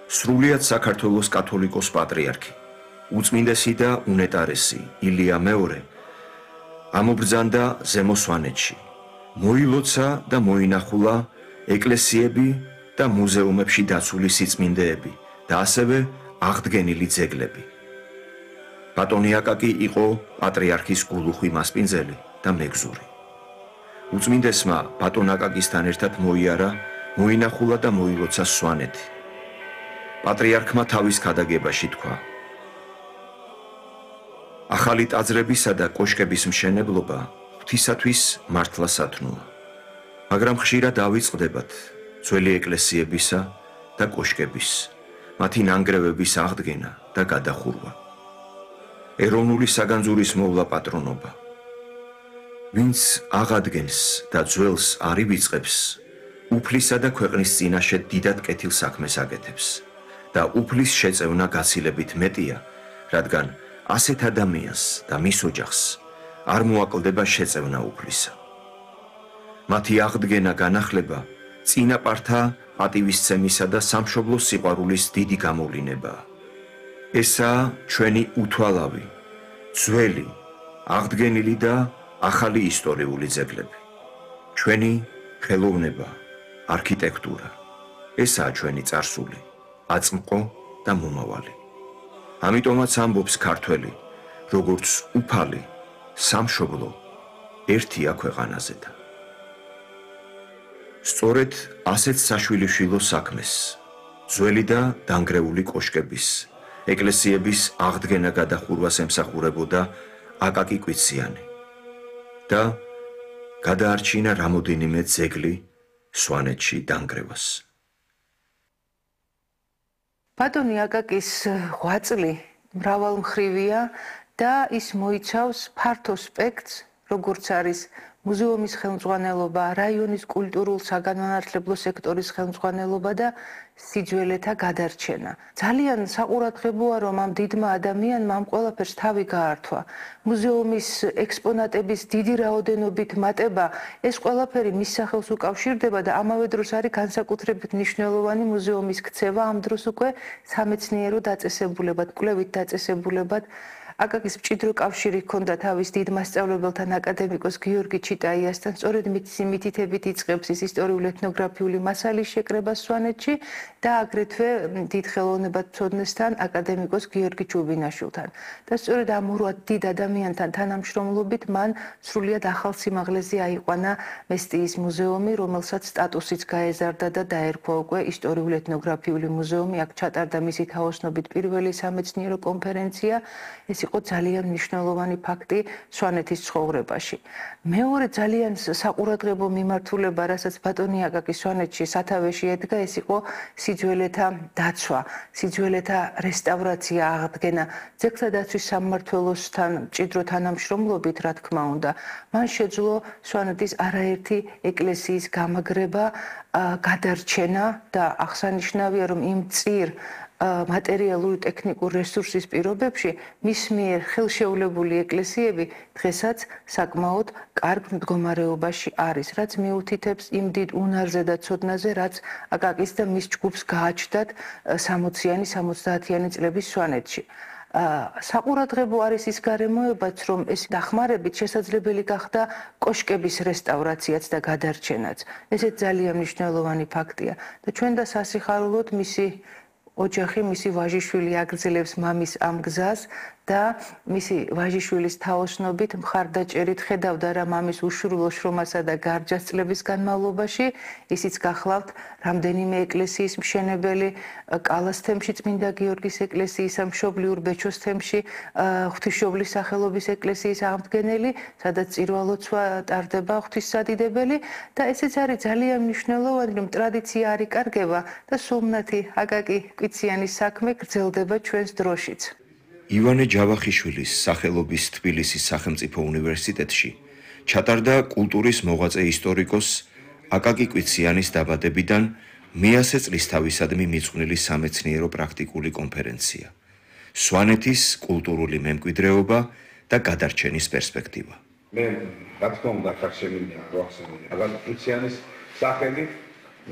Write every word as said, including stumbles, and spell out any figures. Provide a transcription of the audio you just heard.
სრულიად საქართველოს კათოლიკოს პატრიარქი, უწმინდესი და უნეტარესი ილია მეორე ამობრძანდა ზემო სვანეთში, მოილოცა და მოინახულა ეკლესიები და მუზეუმებში დაცული სიწმინდეები და ასევე აღდგენილი ძეგლები. ბატონი აკაკი იყო პატრიარქის გულუხვი მასპინძელი და მეგზური. უწმინდესმა ბატონ აკაკისთან ერთად მოიარა, მოინახულა და მოილოცა სვანეთი. პატრიარქმა თავის ქადაგებაში თქვა: ახალი ტაძრებისა და კოშკების მშენებლობა ღვთისათვის მართლა სათნოა, მაგრამ ხშირად ავიწყდებათ ძველი ეკლესიებისა და კოშკების, მათი ნანგრევების აღდგენა და გადახურვა. ეროვნული საგანძურის მოვლა პატრონობა. ვინც აღადგენს და ძველს არ ივიწყებს, უფლისა და ქვეყნის წინაშე დიდად კეთილ საქმეს აკეთებს და უფლის შეწევნა გაცილებით მეტია, რადგან ასეთ ადამიანს და მის ოჯახს არ მოაკლდება შეწევნა უფლისა. მათი აღდგენა განახლება წინაპართა პატივისცემისა და სამშობლოს სიყვარულის დიდი გამოვლინებაა. ესაა ჩვენი უთვალავი, ძველი, აღდგენილი და ახალი ისტორიული ძეგლები. ჩვენი ხელოვნება, არქიტექტურა, ესაა ჩვენი წარსული, აწმყო და მომავალი. ამიტომაც ამბობს ქართველი, როგორც უფალი, სამშობლო, ერთია ქვეყანაზედა. სწორედ ასეთ საშვილიშვილო საქმეს, ძველი და დანგრეული კოშკების, ეკლესიების აღდგენა გადახურვას ემსახურებოდა აკაკი კვიციანი და გადაარჩინა რამოდენიმე ძეგლი სვანეთში დანგრევას. ბატონი აკაკის ღვაწლი მრავალმხრივია და ის მოიცავს ფართო სპექტრს, როგორც არის მუზეუმის ხელმძღვანელობა, რაიონის კულტურულ საგანმანათლებლო სექტორის ხელმძღვანელობა და სიძველეთა გადარჩენა. ძალიან საყურადღებოა, რომ ამ დიდმა ადამიანმა ამ ყველაფერს თავი გაართვა. მუზეუმის ექსპონატების დიდი რაოდენობით მატება, ეს ყველაფერი მის სახელს უკავშირდება და ამავე დროს არის განსაკუთრებით მნიშვნელოვანი მუზეუმის ქცევა ამ დროს უკვე სამეცნიერო დაწესებულებად, კვლევით დაწესებულებად. აკაკის მჭიდრო კავშირი ჰქონდა თავის დიდ მასწავლებელთან, აკადემიკოს გიორგი ჩიტაიასთან, სწორედ მისი მითითებით იწყებს ის ისტორიულ-ეთნოგრაფიული მასალის შეკრებას სვანეთში და აგრეთვე დიდ ხელოვნებათმცოდნესთან, აკადემიკოს გიორგი ჩუბინაშვილთან. და სწორედ ამ ორ დიდ ადამიანთან თანამშრომლობით მან სრულიად ახალ სიმაღლეზე აიყვანა მესტიის მუზეუმი, რომელსაც სტატუსიც გაეზარდა და დაერქვა უკვე ისტორიულ-ეთნოგრაფიული მუზეუმი. აქ ჩატარდა მისი თაოსნობით პირველი სამეცნიერო კონფერენცია. ეს იყო ძალიან მნიშვნელოვანი ფაქტი სვანეთის ცხოვრებაში. მეორე ძალიან საყურადღებო მიმართულება, რასაც ბატონი აკაკი სვანეთში სათავეში ედგა, ეს იყო სიძველეთა დაცვა, სიძველეთა რესტავრაცია, აღდგენა. ძეგლთა დაცვის სამმართველოსთან მჭიდრო თანამშრომლობით, რა თქმა უნდა, მან შეძლო სვანეთის არაერთი ეკლესიის გამაგრება, გადარჩენა და აღსანიშნავია, რომ იმ წիր მატერიალური ტექნიკურ რესურსის პირობებში მის მიერ ხელშეულებული ეკლესიები დღესაც საკმაოდ კარგ მდგომარეობაში არის, რაც მიუთითებს იმ დიდ უნარზე და ცოდნაზე, რაც აკაკის და მის ჯგუფს გააჩნდათ სამოციანი, სამოცდაათიანი წლების სვანეთში. საყურადღებო არის ის გარემოებაც, რომ ეს დახმარებით შესაძლებელი გახდა კოშკების რესტავრაციაც და გადარჩენაც. ესეც ძალიან მნიშვნელოვანი ფაქტია და ჩვენ და სასიხარულოდ მისი ოჯახი, მისი ვაჟიშვილი აგრძელებს მამის ამ გზას და მისი ვაჟიშვილის თაოსნობით მხარდაჭერით ხედავდა რა მამის უშვილო შრომასა და გარჯასწლების განმავლობაში. ისიც გახლავთ რამდენიმე ეკლესიის მშენებელი, კალას თემში წმინდა გიორგის ეკლესიისა, მშობლიურ ბეჩოს თემში ღვთისმშობლის სახელობის ეკლესიის აღდგენელი, სადაც წირვალოცვა ტარდება ღვთისმსადიდებელი და ესეც არის ძალიან მნიშვნელოვანი, რომ ტრადიცია არ იკარგება და სულმნათი აკაკი კვიციანის საქმე გრძელდება ჩვენს დროშიც. ივანე ჯავახიშვილის სახელობის თბილისის სახელმწიფო უნივერსიტეტში ჩატარდა კულტურის მოღვაწე ისტორიკოს აკაკი კვიციანის დაბადებიდან მეათე წლისთავისადმი მიძღვნილი სამეცნიერო პრაქტიკული კონფერენცია. სვანეთის კულტურული მემკვიდრეობა და გადარჩენის პერსპექტივა. მე რა თქმა უნდა ხარ შემინდა გვახსენე აკაკი კვიციანის სახელი